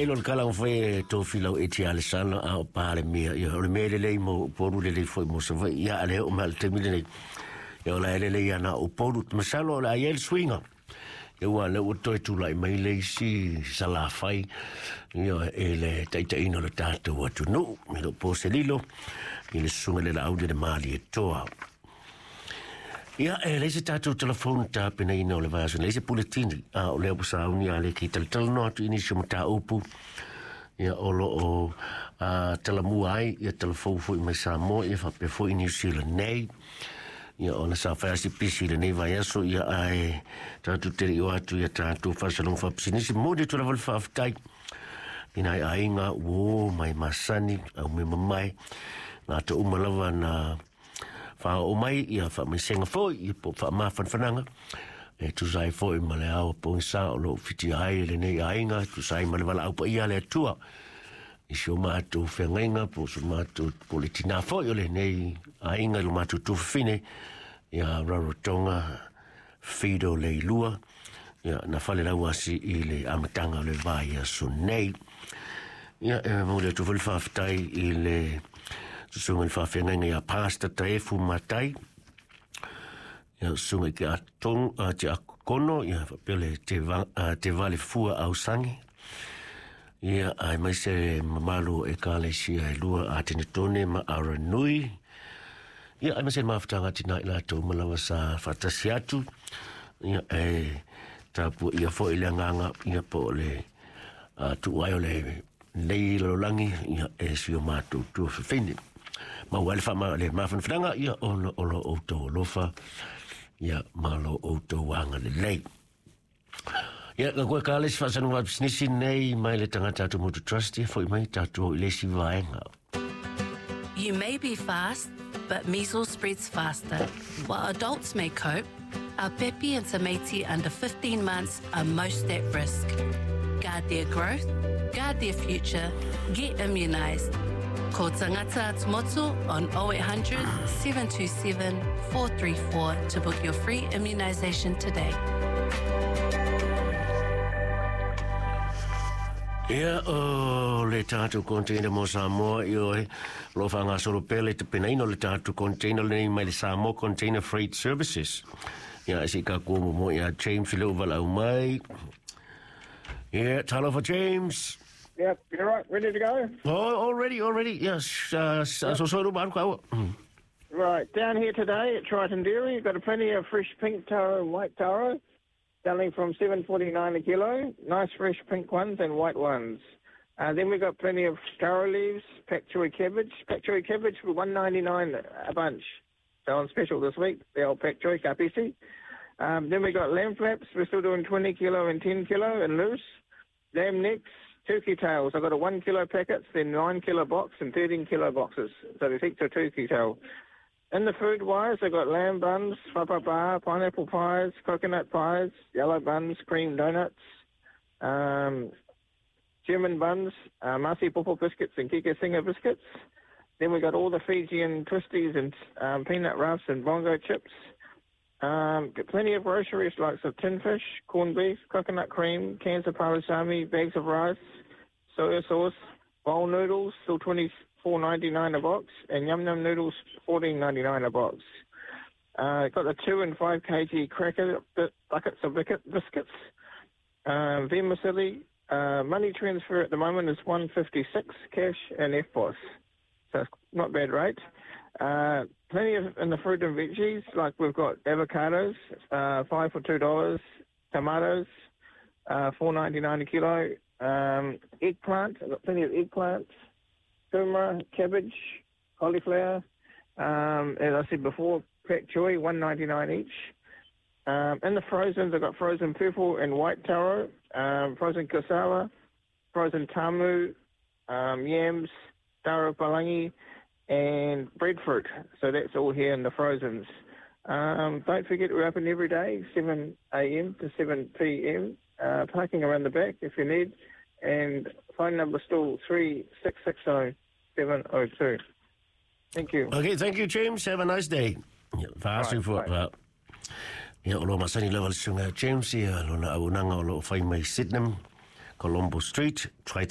E lo le kala fai e tofi lau e tia le sala a o Palemia. Ia, o le mea lelei mo Upolu, lelei foi mo Savaii. Ia, a le oo mai le taimi lenei. Ia, o la e lelei ana Upolu. Masalo o le a i ai le suiga. Ia, ua lea ua toe tulai mai le isi Salafai, ia, e le taitaiina o le tatou atunuu. E le o po se lilo i le susuga i le Laauli le Malietoa. Ia, e leai se tatou telefoni tapenaina o le vaiaso nei, se puletini, a o lea ua sauni a le ki talatalanoa atu i nisi o mataupu, ia, o lo o talamua ai, ia, talafou foi mai Samoa, ia, faapea foi New Zealand nei. Ia, ona sa fai asi pisi i lenei vaiaso, ia, ae tatou te le i o atu ia tatou faasaloga faapisinisi. Momoli atu lava le faafetai i nai aiga ua o mai masani, au mea mamae, latou uma lava na whaoo mai, ia whaamaisega foi, ia po o faamafanafanaga, e tusa ai foi ma le ao pogisa o lo o fitia ai e lenei aiga, tusa ai ma le valaau paia a le Atua i si o matou feagaiga po o so matou po o le tinā foi o lenei aiga i lo matou tuafafine ia Rarotonga Fido Leilua, ia, na fale lauasi i le amataga o le vaiaso nei. Ia, e momoli atu foi le faafetai i le susuga i le faafeagaiga ia Pastor Taefu Matai, ia, susuga i te atong, te akono, ia, faapea le te, va, te vale fua ausangi, ia, aemaise le mamalu o Ekalesia e lua, Atenetone ma Aranui, ia, aemaise le mafutaga tina i latou ma lava sa faatasi atu, ia, e tapuaia foi le agaga, ia, po o le tuu ai o le nei lalolagi, ia, e si o matou tuafafine. Maua ai le faama le mafanafanaga, ia, ona o lo outou alofa, ia, ma lo outou agalelei. Ia, ka koe ka le isi faasanuga pisinisi nei mai le tagata atu Motu Trust, ia, foi mai tatou i le isi vaega. You may be fast, but measles spreads faster. While adults may cope, our pepi and tamaiti under 15 months are most at risk. Guard their growth, guard their future, get immunised. Call Tangata Atumotu on 0800 727 434 to book your free immunisation today. Ia, o le tatou container mo Samoa, ioe, o lo o faagasolo pea le tapenaina o le tatou container lenei mai le Samoa Container Freight Services. Ia, se i tatou o muamua ia James i le valaau mai. Ia, talofa James. Yep, you're right. Ready to go? Oh, already, already. Yes, yep. So so ru ka. Right, down here today at Triton Dairy, you've got plenty of fresh pink taro and white taro, selling from $7.49 a kilo. Nice fresh pink ones and white ones. Then we've got plenty of taro leaves, pak choi cabbage. Pak choi cabbage for $1.99 a bunch. So on special this week, the old pak choi kapisi. Then we got lamb flaps. We're still doing 20 kilo and 10 kilo and loose. Lamb necks, turkey tails. I've got a 1 kilo packets, then 9 kilo box and 13 kilo boxes. So they take to a turkey tail. In the food wise, I've got lamb buns, fapapa, pineapple pies, coconut pies, yellow buns, cream donuts, German buns, Masi Popo biscuits and Kika Singer biscuits. Then we got all the Fijian twisties and peanut roughs and bongo chips. Got plenty of groceries like some tin fish, corned beef, coconut cream, cans of palusami, bags of rice, soya sauce, bowl noodles, still $24.99 a box, and yum yum noodles, $14.99 a box. Got the 2 and 5 kg cracker buckets of biscuits. Vermicelli, money transfer at the moment is $1.56 cash and EFTPOS. So it's not bad rate. Plenty of in the fruit and veggies, like we've got avocados, 5 for $2, tomatoes, $4.99 a kilo, eggplant, I've got plenty of eggplants, kumara, cabbage, cauliflower, as I said before, pak choi, $1.99 each. In the frozens, I've got frozen purple and white taro, frozen cassava, frozen tamu, yams, taro palangi, and breadfruit. So that's all here in the frozens. Don't forget we're open every day, 7 a.m. to 7 p.m. Parking around the back if you need. And phone number still 3660 702. Thank you. Okay, thank you, James. Have a nice day. Faasu fua. Ia, o lo masani lava le susuga James, ia, lona auaunaga o lo o fai mai Sydenham, Colombo Street, Triton.